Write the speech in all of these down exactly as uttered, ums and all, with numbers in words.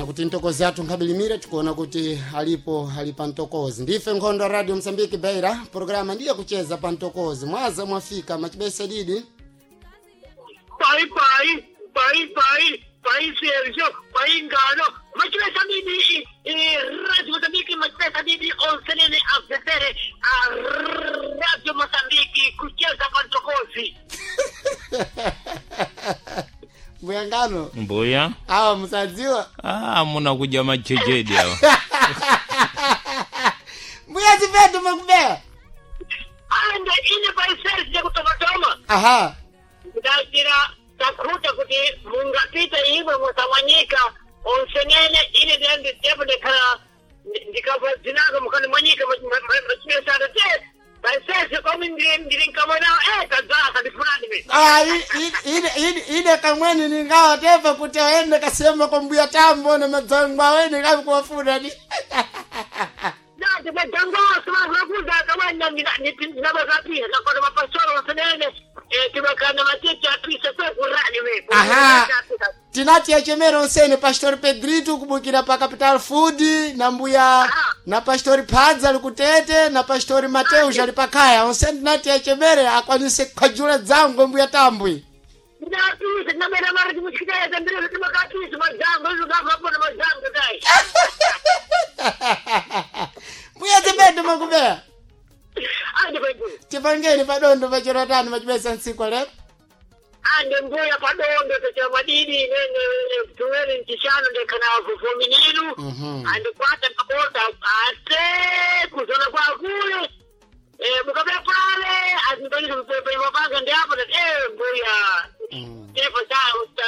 Tiona kuti ntokozi athu nkhabilimire, tikuona kuti alipo ali pa ntokozi. Ndife nkhondo ya Radio Msambiki Beira, programa ndiye kucheza pa ntokozi. Mwaza mwafika machibesa didi. Pai pai pai pai pai Sergio pai ngano machibesa didi, Radio Mozambique machibesa didi onsenene afesere a Radio Mozambique kucheza pa ntokozi. Mbuyangano. Mbuya. Awa musadziwa. Ah, muna kudya majejedi awa. Mbuya zipetu makubea. Ande ine pai Sergio kutomatoma. Aha. Ndachira takhuta kuti mungapita imwe musamwanyika onsenene ine ndiyanditepo ndikhala ndikabva dzinako mukani mwanyika machibesana te paisese komi ndiri nkamwenawo e kadzasa ndifunani mi. Ah, i- i- ine ine ine kamweni ningawa tepa kuti aende kasema kwa mbuya tambo na madzangwa awene kavi kuwafuna ni. Nati madangoso vakuza kamweni ndinabakapisa kakona mapasoro onsenene timakana matete apisa kwekurani we. Aha. Tinati yachemera onsene Pastor Pedrito kubukira pa Capital Food na mbuya na Pastor Padza ali kutete na Pastor Mateus ali pakaya. Onsene tinati yachemere akwanise kukhajula dzango mbuya tambwi. Ndinapisa ndinabera mari timuchikitaeza ndiri timakapisa madzango izvokavapona madzango dai. Mbuya zipetu makubea. Ande paiguru. Tipangeni padondo pachero tano machibesa ntsiku lero. Ande mbuya padondo tochera madidi nene tuwele nchishano ndekana vufomininu. Mhm. Ande kwata pakota ate kuzona kwa kule. Eh mukabla pale azintanisa mpepe mapanga ndi apo tati eh mbuya. Mm. Tepo cha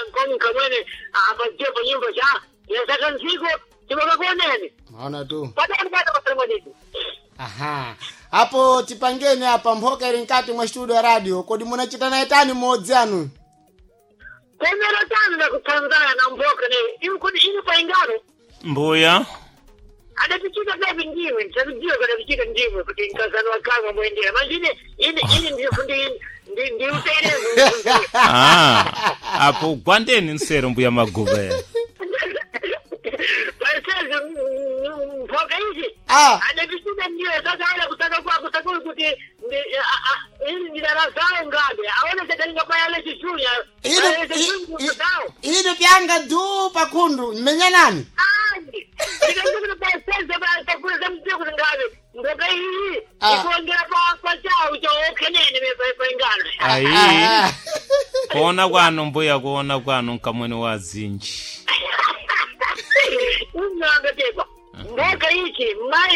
ngomi kamwene apa tepo nyumba cha yasaka nziko tibakakuoneni. Maona tu. Padondo pata pasana madidi. Aha. Apo tipangeni apa mphoka ili mkati mwa studio ya radio. Kodi munachita naye tani mmodzi anu? Komero tano na kutsanzana na mboka ne imkudi inu paingano. Mbuya. Adapichika kavi ndiwe ndisakudziwa kadapichika ndiwe kuti nkazano wakanga mwendera manjine ine ine ndifundi ndiutere. Ah, apo gwandeni nsero mbuya maguva. Paisezi mphoka izi Ah. adapichika ndiwe sasa ala kutaka kwako sakuli kuti ndi- a- a- ili ndidalazawo ngabe aone sadalinga payale chisunya Ine i- ine pyanga du pakhundu mmenya nani? Andi ndikakuti paisezi pakule zamdziwa kuti ngabe mboka iyi Ah. ikuongera pa pachawo chaokhenene paingano. Ayi. Ah. Kuona kwanu mbuya, kuona kwanu nkamwene wa zinji. Unanga tekwa mboka ichi mai.